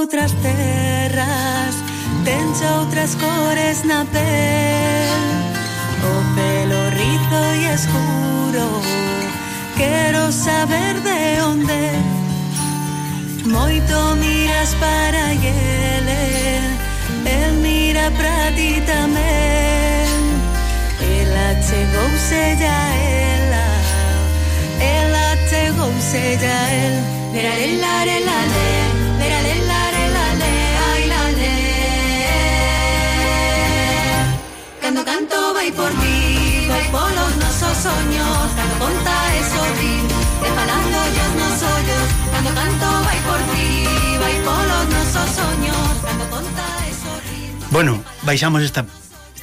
outras terras, tens outras cores na pel, o pelo rizo e escuro, quero saber de onde. Moito miras para ele, el mira para ti tamén. Ela chegouse ya ela chegouse ya el. Leralelare-lale, leralelare-lale, ai lale. Cando canto vai por ti, vai polos nosos soños, cando conta e sorri, e falando ollos nos ollos. Cando canto vai por ti, vai polos nosos soños, cando conta e sorri. Bueno, baixamos esta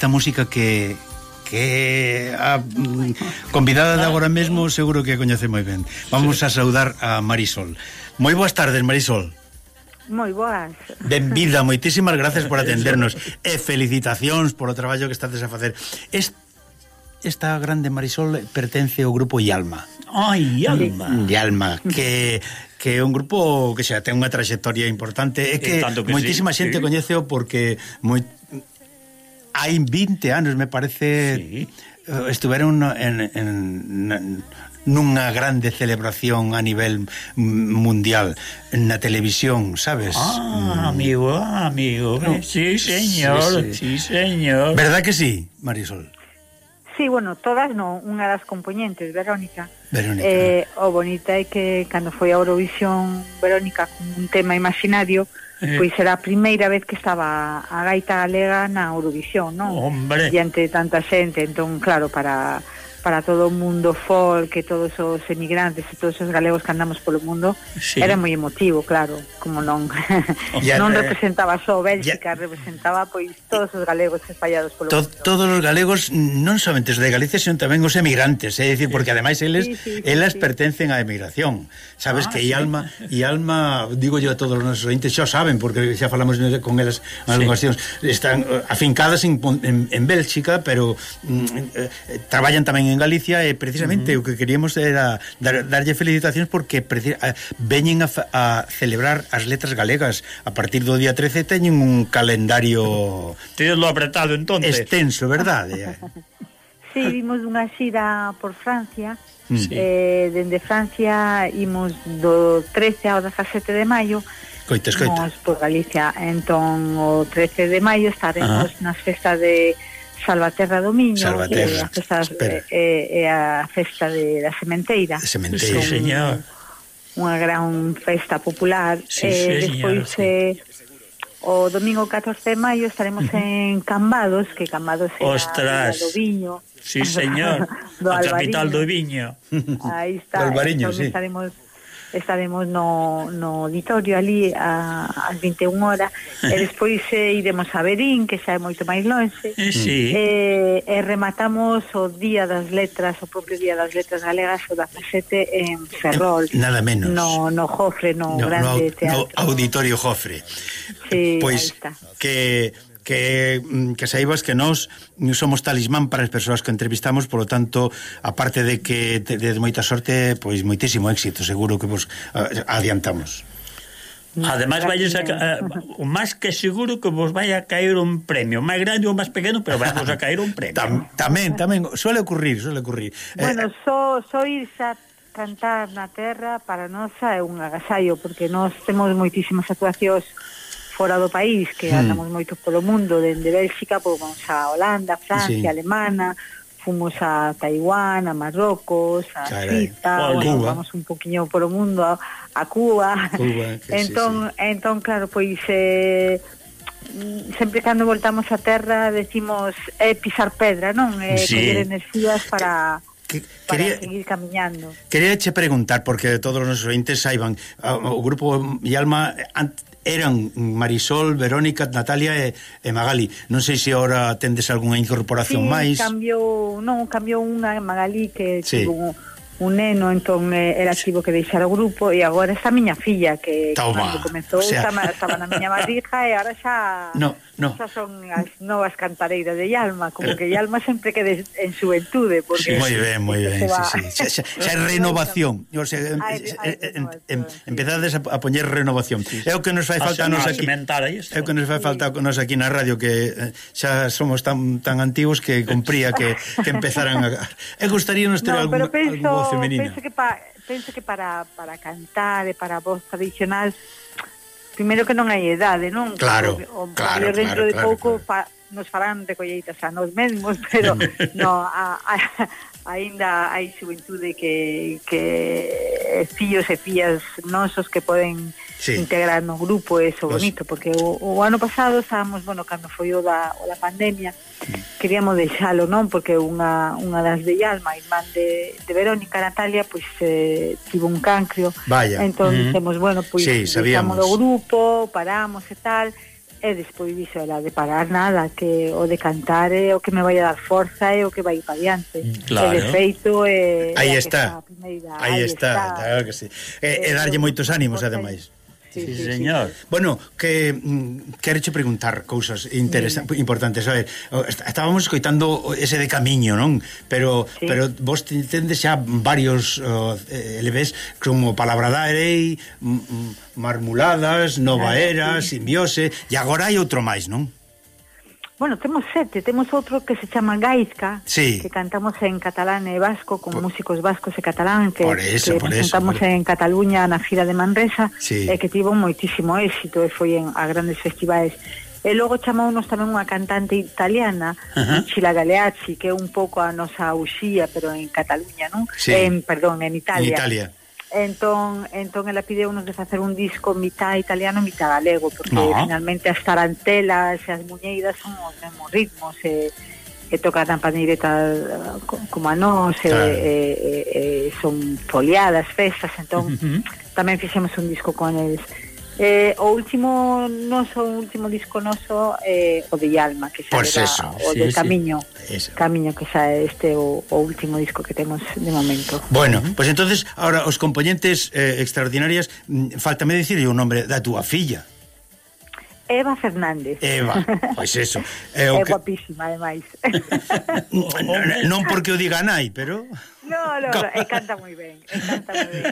música que a convidada de agora mesmo seguro que coñece moi ben. Vamos a saudar a Marisol. Moi boas tardes, Marisol. Moi boas. Benvida, moitísimas gracias por atendernos e felicitacións por o traballo que estades a facer. Esta grande Marisol pertence ao grupo Ialma. Ai, Ialma. Ialma, que é un grupo que xa ten unha trayectoria importante e que moitísima xente coñeceo porque hai 20 anos, me parece, estiveron nunha grande celebración a nivel mundial na televisión, sabes? Amigo, sí, señor, sí, señor. ¿Verdad que sí, Marisol? Sí, bueno, todas non, unha das componentes, Verónica. O bonita é que cando foi a Eurovisión Verónica con un tema imaginario, pois era a primeira vez que estaba a gaita galega na Eurovisión, non? Hombre. Diante de tanta xente, entón, claro, para todo o mundo folk, que todos os emigrantes e todos os galegos que andamos polo mundo, era moi emotivo, claro, como non non representaba só Bélxica, representaba pois todos os galegos espallados polo mundo. Todos os galegos, non somente os de Galicia, sino tamén os emigrantes, é dicir, porque ademais elas pertencen á emigración. Sabes que Ialma, digo yo a todos os nosos ointes, xa saben, porque xa falamos con elas en algunhas cuestións, están afincadas en Bélxica, pero traballan tamén en Galicia e precisamente o que queríamos era darlle felicitacións porque veñen a celebrar as letras galegas a partir do día 13, teñen un calendario Tídelo apretado entonces extenso, verdade? Sí, vimos unha xira por Francia. Dende Francia imos do 13 ao 17 de maio. Coita. Imos por Galicia. Entón o 13 de maio estaremos nas festas de Salvaterra do Miño, a festa da Sementeira. Sí, señor. Unha gran festa popular. Despois o domingo 14 de maio estaremos en Cambados, que Cambados é a do Viño. Sí, señor. A capital do Viño. Aí está. Entón estaremos no auditorio ali ás 21 horas e despois iremos a Verín, que xa é moito máis lonxe, e rematamos o Día das Letras, o propio Día das Letras Galegas, o 17 en Ferrol, nada menos, no Jofre, no grande teatro, no auditorio Jofre. Pois que saibas que nós somos talismán para as persoas que entrevistamos, polo tanto, aparte de que de moita sorte, pois moitísimo éxito, seguro que vos adiantamos. Ademais vais o máis que seguro que vos vai a caer un premio, máis grande ou máis pequeno, pero vai vos a caer un premio. Tamén, suele ocurrir. Bueno, só irse a cantar na terra para nós é un agasallo, porque nós temos moitísimas actuacións fora do país, que andamos moito polo mundo, dende Bélxica, pois vamos a Holanda, Francia, Alemana, fomos a Taiwán, a Marrocos, a Suiza, vamos un poquinho polo mundo, a Cuba. Entón, claro, pois sempre cando voltamos a terra decimos pisar pedra, non? Coller enerxías para seguir camiñando. Quería che preguntar, porque todos os nosos ointes saiban, o grupo Ialma eran Marisol, Verónica, Natalia e Magali. Non sei se agora tendes algunha incorporación máis. Cambiou unha Magali que tivo neno, entón era tivo que deixar o grupo, e agora está a miña filla que cando comezou estaba na miña barriga, e agora xa xa son as novas cantareiras de Yalma, como que Yalma sempre quede en xuventude, porque moi ben, xa é renovación, o sea, empezades a poñer renovación. É o que nos fai falta a nos aquí. É o que nos fai falta a nos aquí na radio, que xa somos tan antigos que compría que empezaran a... gustaríanos ter algún voz femenina. Penso que para cantar e para a voz tradicional, primeiro que non hai idade, non? Claro. Dentro de pouco nos farán de colleitas a nos mesmos, pero no, aínda hai xuventude que fillos e fillas nosos que poden integrar no grupo, eso bonito, porque o ano pasado estábamos, cando foi o da pandemia, queríamos deixalo, non? Porque unha das de Yalma, irmán de Verónica, Natalia, pois tivo un cancro. Vaya. Entón, pois deixamos o grupo, paramos e tal, e despois dixo ela de parar nada, que o de cantar é o que me vai a dar forza e o que vai para adiante. Claro. E de feito aí está, claro que sí. E darlle moitos ánimos, ademais. Sí, señor. Bueno, que quereche preguntar cousas importantes. A ver, estábamos escoitando ese de Camiño, non? Pero vos tendes xa varios LPs como Palabra da Erei, Marmuladas, Nova Era, Simbiose, e agora hai outro máis, non? Bueno, temos 7, temos outro que se chama Gaizka, que cantamos en catalán e vasco, con músicos vascos e catalán, que presentamos en Cataluña na gira de Manresa, e que tivo moitísimo éxito e foi a grandes festivais. E logo chamounos tamén unha cantante italiana, Lucilla Galeazzi, que é un pouco a nosa Uxía, pero en Cataluña, non? Perdón, en Italia. En Italia. Entón ela pideunos de facer un disco mitad italiano, mitad galego, porque finalmente as tarantelas e as muñeiras son os mesmos ritmos, e tocan a pandeireta como a nós, son foliadas, festas, entón tamén fixemos un disco con eles. O último disco noso o de Yalma, que xa era o de Camiño, que xa é o último disco que temos de momento. Bueno, pues entonces ahora os componentes extraordinarias, faltame dicirlle o nombre da túa filla. Eva Fernández. Eva, pois eso. É guapísima, ademais. Non porque o diga nai, pero... No, canta moi ben.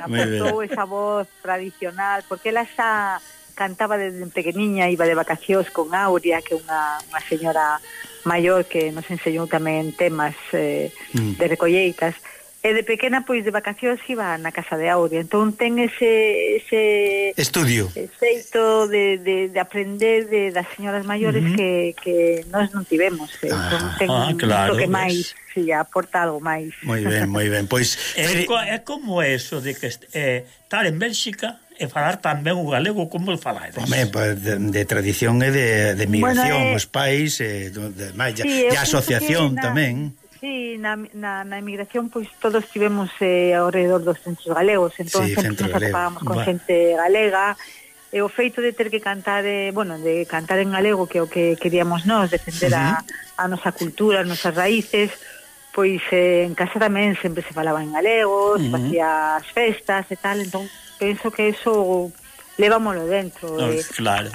Aportou esa voz tradicional, porque ela xa cantaba desde pequeniña, iba de vacacións con Aurea, que é unha señora maior que nos enseñou tamén temas de recolleitas. E de pequena, pois, de vacacións iba na casa de Aurea. Entón ten ese estudio, xeito de aprender das señoras maiores que nós non tivemos. Entón ten un toque máis, aporta algo máis. Moi ben. Pois é como eso de que estar en Bélxica e falar tamén o galego, como o falades? De tradición e de migración, os pais, e a asociación tamén. Sí, na emigración pois todos tivemos ao redor dos centros galegos, entón sempre nos atopábamos con xente galega, e o feito de ter que cantar de cantar en galego, que é o que queríamos nós, defender a nosa cultura, as nosas raíces, pois en casa tamén sempre se falaba en galego, se facía as festas e tal, entón penso que eso levámoslo dentro,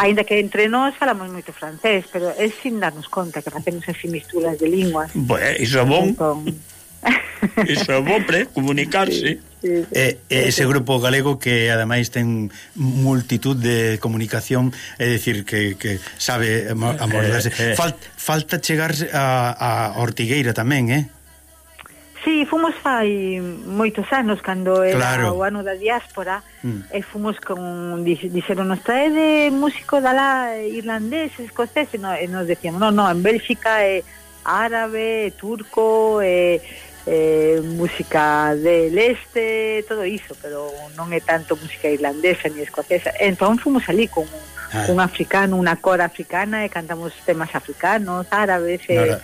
aínda que entre nós falamos moito francés, pero é sin darnos conta que facemos así misturas de linguas. Iso é bon. Iso é bon, comunicarse. Ese grupo galego que ademais ten multitud de comunicación, é dicir que sabe amordarse. Falta chegar a Ortigueira tamén, Sí, fomos fai moitos anos, cando era o ano da diáspora, e fomos dixeronos, traede músico da lá irlandés, escocés, e nos decíamos, no, en Bélxica é árabe, turco, música del este, todo iso, pero non é tanto música irlandesa ni escocesa. Entón fomos ali con un africano, unha cora africana, e cantamos temas africanos, árabes, e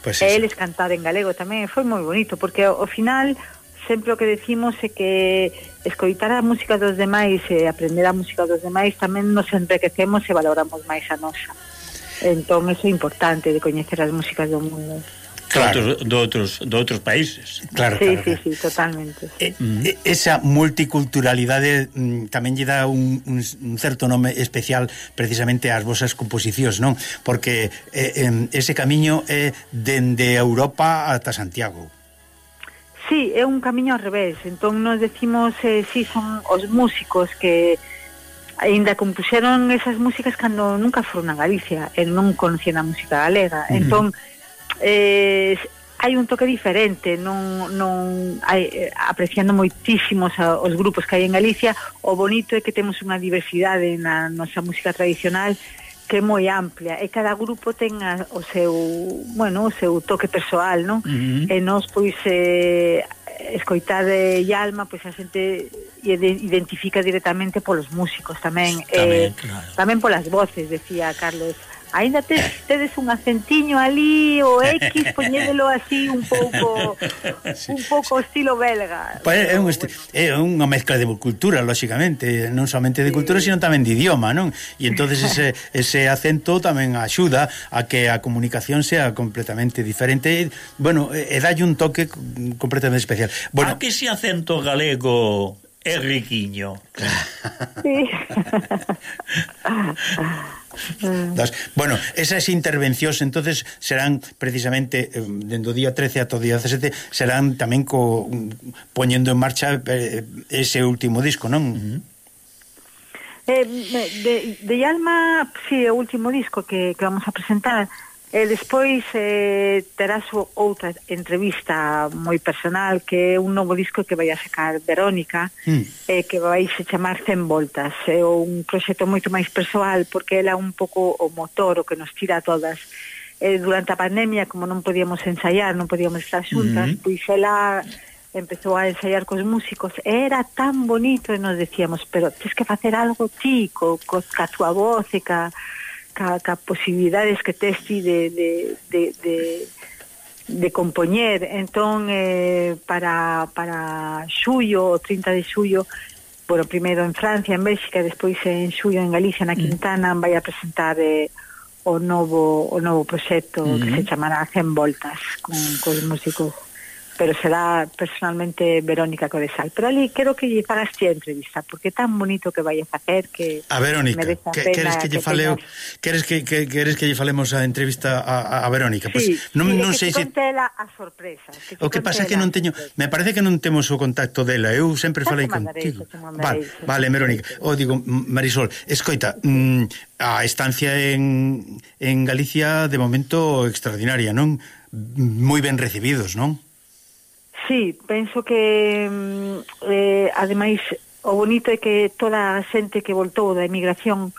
eles cantar en galego tamén. Foi moi bonito, porque ao final sempre o que decimos é que escoitar a música dos demais e aprender a música dos demais tamén nos enriquecemos e valoramos máis a nosa. Entón, iso é importante, de coñecer as músicas do mundo. claro. de outros países. Claro, Sí, claro. sí, totalmente. Sí. Esa multiculturalidade tamén lle dá un certo nome especial precisamente ás vosas composicións, non? Porque ese camiño é dende Europa ata Santiago. Sí, é un camiño ao revés. Entón nos decimos, sí, son os músicos que aínda compuxeron esas músicas cando nunca foron a Galicia e non conocían a música galega. Entón hai un toque diferente, non hai, apreciando moitísimos os grupos que hai en Galicia. O bonito é que temos unha diversidade na nosa música tradicional que é moi amplia, e cada grupo ten o seu toque persoal, non? E nós, pois, escoitar Yalma, pois a xente identifica directamente polos músicos tamén, Claro. tamén polas voces, decía Carlos. Ainda tedes un acentiño ali, o X, poñédelo así un pouco estilo belga. Pues é unha mezcla de cultura, lóxicamente, non somente de cultura, sino tamén de idioma, non? E entonces ese acento tamén axuda a que a comunicación sea completamente diferente. Bueno, e dalle un toque completamente especial. Bueno, A que ese acento galego é riquiño. Sí. Bueno, esas intervencións entonces serán precisamente dende o día 13 ata o día 17 serán tamén poñendo en marcha ese último disco, non? De Yalma, sí, o último disco que vamos a presentar. Despois terás outra entrevista moi personal, que é un novo disco que vai a sacar Verónica, que vai se chamar 100 voltas. É un proxecto moito máis persoal, porque ela é un pouco o motor, o que nos tira a todas. Durante a pandemia, como non podíamos ensaiar, non podíamos estar xuntas, pois ela empezou a ensaiar cos músicos, e era tan bonito, e nos decíamos, pero tens que facer algo ti, ca tua voz e ca posibilidades que tes ti de compoñer. Entón, para xullo, o 30 de xullo, bueno, primeiro en Francia, en Bélxica, despois en xullo en Galicia, na Quintana, vai a presentar o novo proxecto que se chamará 100 voltas cos músicos, pero será personalmente Verónica Codesal. Pero ali quero que lle fagas ti a entrevista, porque é tan bonito que vai a facer que a Verónica, queres que lle fale queres que lle falemos a entrevista a Verónica? Sí, Pois non sei se contela a sorpresa. O que pasa é que non teño, me parece que non temos o contacto dela. Eu sempre falei contigo. Vale, Verónica. O digo, Marisol, escoita, a estancia en Galicia de momento extraordinaria, non? Moi ben recibidos, non? Sí, penso que ademais o bonito é que toda a xente que voltou da emigración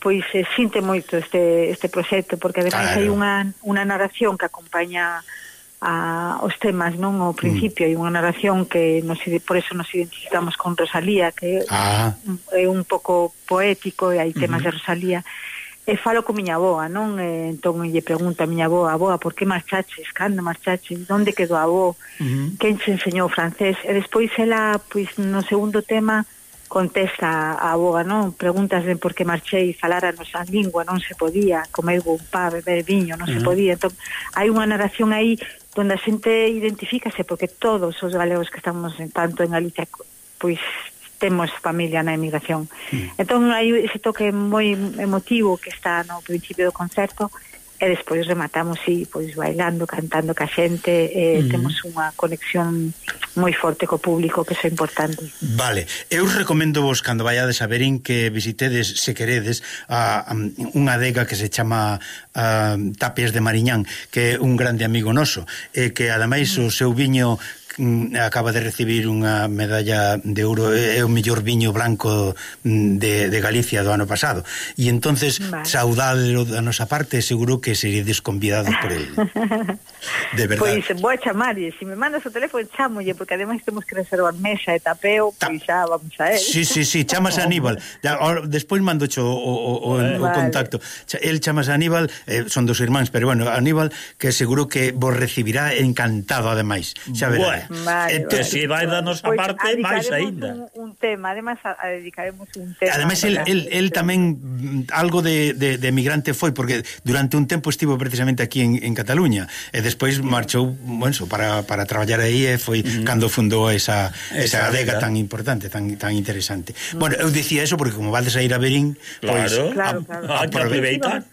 pois sinte moito este proxecto, porque ademais hai unha narración que acompaña os temas, non? Ao principio hai unha narración que por eso nos identificamos con Rosalía, que é un pouco poético, e hai temas de Rosalía. E falo con miña avoa, non? Entón lle pregunto a miña avoa, por que marchaches? Cando marchaches? Onde quedou a avó? Quen che enseñou francés? E despois ela, pois no segundo tema, contesta a avoa, non? Preguntas de por que marchei, falar a nosa lingua, non se podía, comer un pá, beber viño, non se podía. Entón, hai unha narración aí onde a xente identifícase, porque todos os galegos que estamos tanto en Galicia, pois temos familia na emigración. Entón hai ese toque moi emotivo que está no principio do concerto, e despois rematamos pois bailando, cantando ca xente, temos unha conexión moi forte co público, que é importante. Vale, eu recomendo vos cando vaiades a Verín que visitedes, se queredes, unha adega que se chama Tapias de Mariñán, que é un grande amigo noso, e que ademais o seu viño acaba de recibir unha medalla de ouro, é o mellor viño blanco de Galicia do ano pasado, e entonces saudádelo da nosa parte, seguro que seríades convidados por ele. De verdade. Pois vou a chamarlle, se me mandas o teléfono chamolle, porque ademais temos que reservar mesa e tapeo, pois xa vamos a él. Sí, chamas a Aníbal. Despois mandocho o contacto. El chamas a Aníbal, son dos irmáns, pero bueno, Aníbal, que seguro que vos recibirá encantado ademais. Xa verá. Vale, Que si vai danos a parte, máis aínda. Un tema, además dedicaremos un tema. Ademais, el tamén algo de emigrante foi, porque durante un tempo estivo precisamente aquí en Cataluña, e despois marchou, bueno, para traballar aí, e foi cando fundou esa adega tan importante, tan interesante. Bueno, eu dicía eso porque como vades a ir a Verín, pois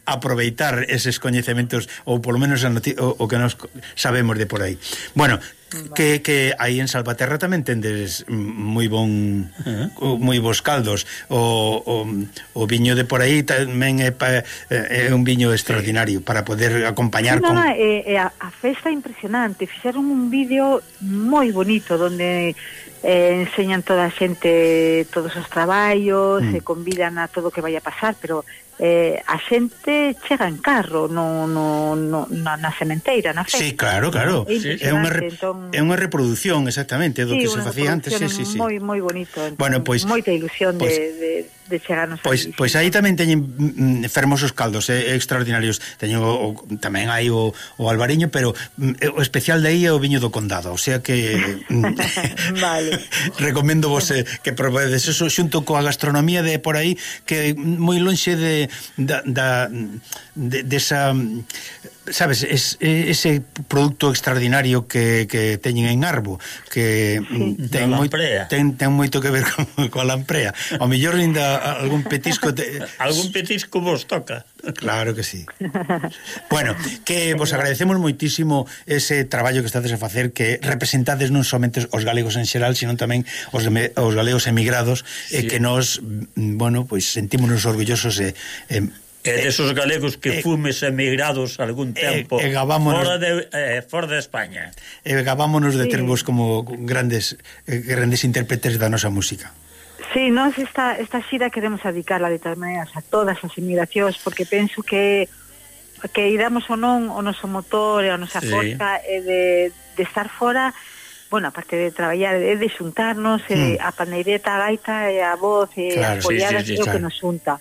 aproveitar eses coñecementos, ou polo menos o que nos sabemos de por aí. Bueno, que aí en Salvaterra tamén tendes moi bons caldos. O viño de por aí tamén é un viño extraordinario para poder acompañar con... A festa impresionante. Fixeron un vídeo moi bonito donde enseñan toda a xente todos os traballos, convidan a todo o que vai a pasar, pero a xente chega en carro na sementeira, na festa. Sí, claro. É unha reproducción exactamente do que se facía antes. Sí. Moi bonito. Bueno, pois moita ilusión de chegarnos pois aí tamén teñen fermosos caldos extraordinarios. Teñen tamén hai o albariño, pero o especial de aí é o viño do Condado, o sea que vale. Recomendo vos que probedes eso xunto coa gastronomía de por aí, que moi lonxe desa, sabes, ese producto extraordinario que teñen en Arbo, que ten moito que ver coa lamprea. Ao mellor ainda algún petisco algún petisco vos toca. Claro que sí. Bueno, que vos agradecemos moitísimo ese traballo que estades a facer, que representades non somente os galegos en xeral, sino tamén os galegos emigrados, e que nos, bueno, pois sentímonos orgullosos desos galegos que fumes emigrados algún tempo fora de España. Gabámonos de tervos como grandes intérpretes da nosa música. Sí, nós esta xira queremos dedicarla de todas maneiras a todas as emigracións, porque penso que iramos ou non o noso motor e a nosa forza de estar fora. Bueno, aparte de traballar, de xuntarnos, a pandeireta, a gaita e a voz e as foliadas é o que nos xunta.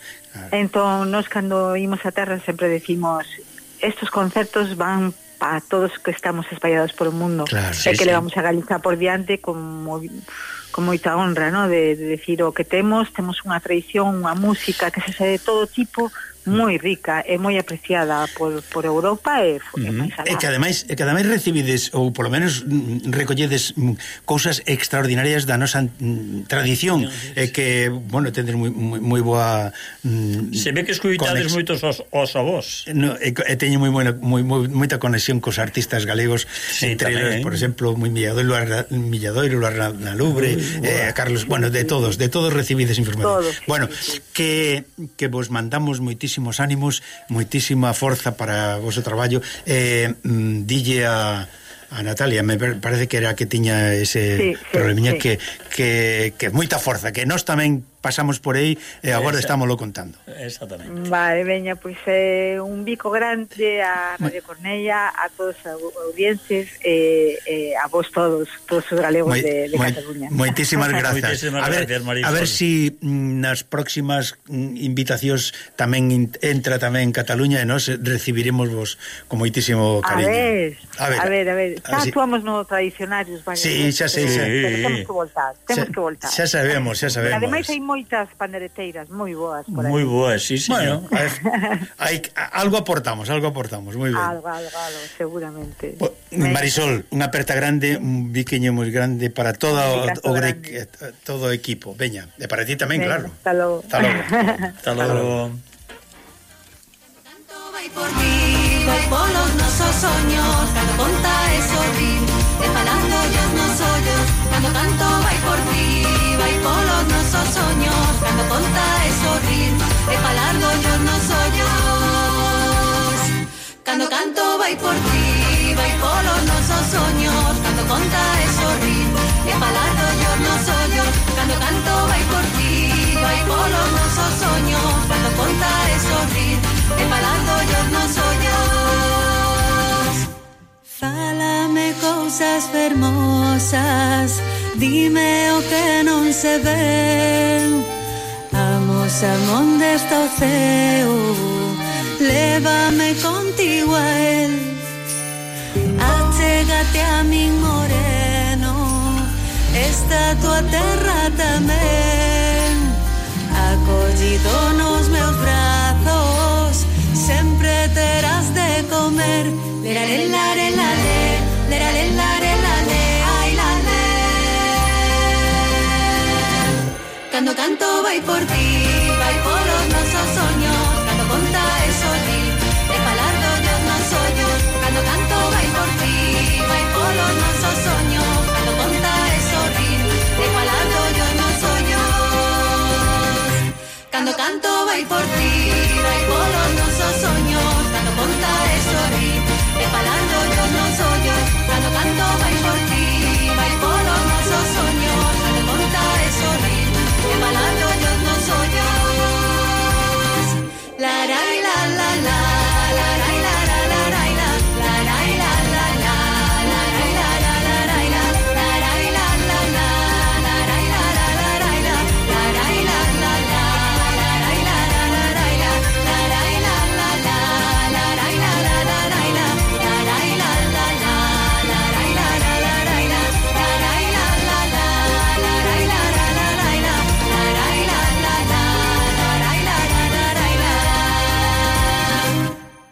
Entón, nós cando imos a terra sempre decimos, estos concertos van para todos que estamos espallados por o mundo, e que levamos a Galiza por diante con moita honra, ¿no? De decir o que temos unha tradición, unha música que se de todo tipo, moi rica e moi apreciada por Europa e máis alá. E que ademais recibides, ou polo menos recolledes cousas extraordinarias da nosa tradición, e que, bueno, tendes moi boa se ve que escuitades moitos os avós. E teño moita conexión cos artistas galegos, entre eles, por exemplo, Milladoiro, Luarna Lubre, Carlos, bueno, de todos recibides información. Bueno, que vos mandamos moitísimos ánimos, moitísima forza para o vosso traballo. Dille a Natalia, me parece que era que tiña ese problemiña, que moita forza, que nós tamén pasamos por aí e agora estámoslo contando. Exactamente. Vale, veña, pois un bico grande a Radio Cornella, a todos os audiencias e a vos todos os galegos de Cataluña. Moitísimas grazas. A ver si nas próximas invitacións tamén entra tamén Cataluña e nós recibiremos vos con moitísimo cariño. A ver. Xa actuamos no tradicionarios, vaya. Sí, xa sei. Temos que voltar. Xa sabemos. Ademais hai moitas pandereteiras moi boas por aí. Moi boas, sí, señor. Bueno, algo aportamos, moi ben. Algo, seguramente. Marisol, unha aperta grande, un biquiño moi grande para todo o equipo. Veña, e para ti tamén, claro. Hasta logo. Hasta logo. Vai por ti, vai polos nosos soños, cando conta e sorrir, e falando os nos ollos, cando canto vai por ti, vai polos nosos soños, cando conta e sorrir, e falando os nos ollos, cando canto vai por ti, vai polos nosos soños, cando conta e sorrir, e falando os nos ollos, cando canto vai por ti, vai polos nosos soños, cando conta e sorrir, e falando os nos ollos. Fálame cousas fermosas, dime o que non se ve. Amosa onde está o ceo, lévame contigo a él. Achégate a min moreno, esta tua terra tamén, acollido nos meus brazos, sempre terás de comer. Lerare, lare, lale, lerare, lare, lale, ai, lale. Cando canto vai por ti,